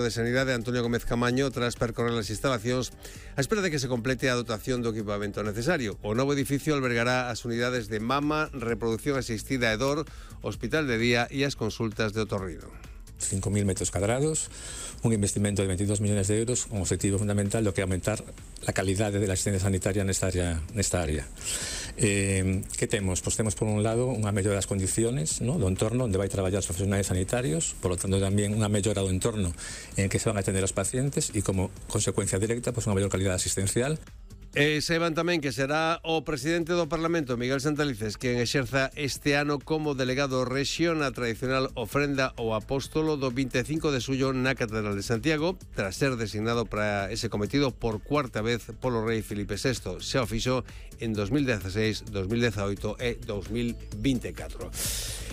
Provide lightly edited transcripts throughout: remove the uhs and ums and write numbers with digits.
de Sanidade Antonio Gómez Camaño tras percorrer as instalacións a espera de que se complete a dotación do equipamento necesario. O novo edificio albergará as unidades de mama, reproducción asistida e dor, hospital de día e as consultas de otorrino. 5.000 metros cuadrados, un investimento de 22 millones de euros con objetivo fundamental do que é aumentar a calidade da asistencia sanitaria nesta área. Que temos? Pois temos por un lado unha mellora das condiciones, do entorno onde vai traballar os profesionais sanitarios, por lo tanto tamén unha mellora do entorno en que se van a atender os pacientes e como consecuencia directa unha mellor calidade asistencial. Saiban tamén que será o presidente do Parlamento, Miguel Santalices, quen exerza este ano como delegado rexio na tradicional ofrenda ao apóstolo do 25 de xullo na Catedral de Santiago, tras ser designado para ese cometido por cuarta vez polo rei Filipe VI. Xa o fixo en 2016, 2018 e 2024.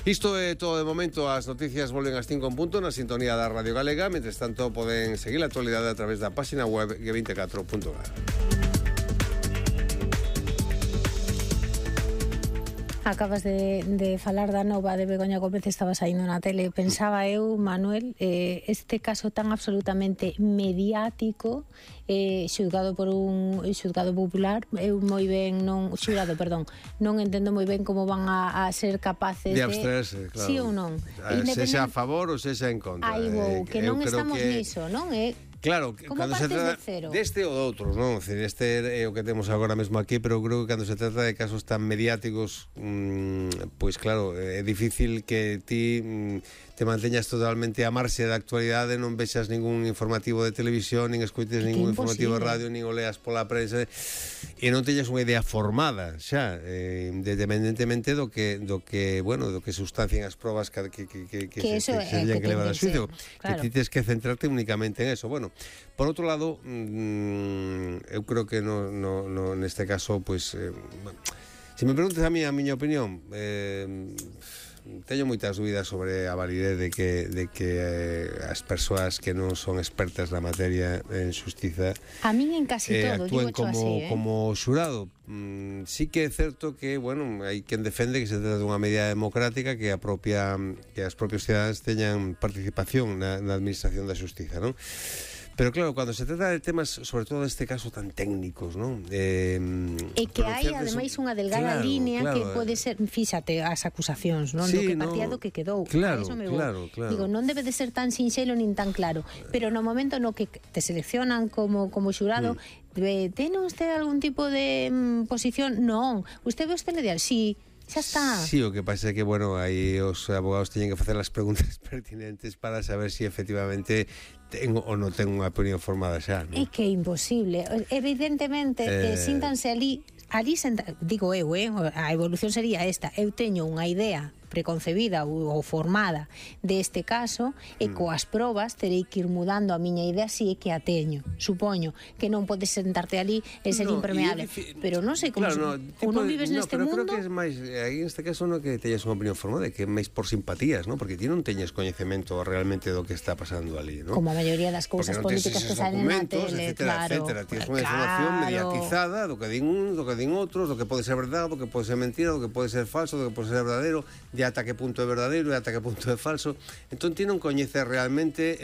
Isto é todo de momento. As noticias volven ás 5 en punto na sintonía da Radio Galega. Mentres tanto, poden seguir a actualidade a través da página web g24.gal. Acabas de falar da nova de Begoña Gómez, estaba saindo na tele. Pensaba eu, Manuel, este caso tan absolutamente mediático, xulgado por un xulgado popular, eu moi ben non entendo moi ben como van a ser capaces de abstraerse, claro. Sí ou non? Sexa a favor ou sexa en contra. Aí vou, que non estamos niso, non? Claro, cando se trata deste ou de outros, non? Este é o que temos agora mesmo aquí, pero creo que cando se trata de casos tan mediáticos, pois claro, é difícil que ti te manteñas totalmente a marxe da actualidade, non vexas ningún informativo de televisión, nin escoites ningún informativo de radio, nin o leas pola prensa, e non teñas unha idea formada xa, independentemente do que sustancien as probas que se teñan que levar a xuicio, que ti tens que centrarte únicamente en eso. Bueno, por outro lado, eu creo que neste caso, pois, se me preguntas a miña opinión, teño moitas dúbidas sobre a validez de que as persoas que non son expertas na materia en xustiza a min en casi todo actúen como xurado. Sí que é certo que, bueno, hai quen defende que se trata dunha medida democrática, que as propios cidadáns teñan participación na administración da xustiza, non? Pero claro, cando se trata de temas, sobre todo neste caso tan técnicos, non? E que hai, ademais, unha delgada línea que pode ser, fíxate, as acusacións, non? Do que partía do que quedou. Claro. Digo, non debe de ser tan sinxelo nin tan claro, pero no momento no que te seleccionan como xurado, ten usted algún tipo de posición? Non. Usted ve o telediario? Sí. Xa está. Sí, o que pasa é que, bueno, aí os abogados teñen que facer as preguntas pertinentes para saber si efectivamente ten ou non ten unha opinión formada xa, non? É que é imposible. Evidentemente, síntanse ali digo eu, a evolución sería esta. Eu teño unha idea preconcebida ou formada deste caso e coas probas terei que ir mudando a miña idea si é que a teño. Supoño que non podes sentarte ali e ser impermeable, pero non sei como ou non vives neste mundo. Pero creo que é máis, aí neste caso non que teñas unha opinión formada, que é máis por simpatías, non? Porque ti non teñes coñecemento realmente do que está pasando ali, non? Como a maioría das cousas políticas que salen na tele, etcétera. Tienes unha información mediatizada do que din uns, do que din outros, do que pode ser verdade, do que pode ser mentira, do que pode ser falso, do que pode ser verdadeiro, de ata que punto é verdadeiro e ata que punto é falso. Entón ti non coñeces realmente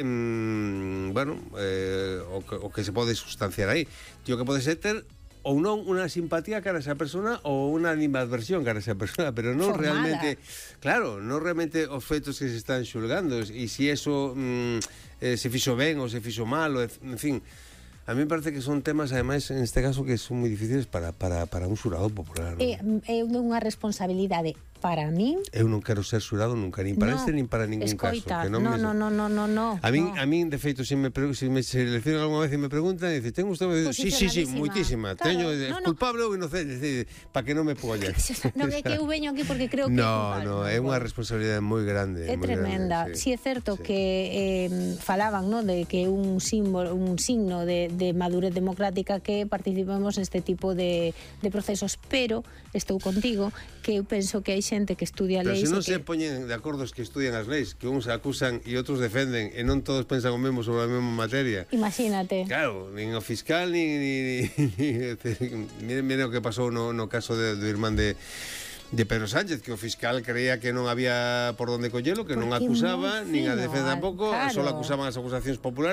o que se pode sustanciar aí. Ti o que pode ser ter ou non unha simpatía cara a esa persona ou unha animadversión cara a esa persona, pero non formada. non realmente os feitos que se están xulgando, e se eso se fixo ben ou se fixo mal, en fin. A mí me parece que son temas, ademais, en este caso, que son moi difíciles para un xurado popular. É unha responsabilidade para min. Eu non quero ser xurado nunca, nin para este, nin para ningún caso. Que non. A min, de feito, se me seleccionan algunha vez e me preguntan, dice, ten usted... Sí, moitísima. Teño culpable ou inocente, para que non me pollan. Non é que eu veño aquí porque creo que... No, é unha responsabilidade moi grande. É tremenda. Si é certo que falaban, de que un signo de madurez democrática que participemos neste tipo de procesos, pero estou contigo que eu penso que hai xente que estudia leis. Pero se non se poñen de acordo os que estudian as leis, que uns acusan e outros defenden, e non todos pensan o mesmo sobre a mesma materia. Imagínate. Claro, nin o fiscal, nin mire o que pasou no caso do irmán de de Pedro Sánchez, que o fiscal creía que non había por donde collelo, que non acusaba, nin a defensa tampouco, só acusaban as acusacións populares.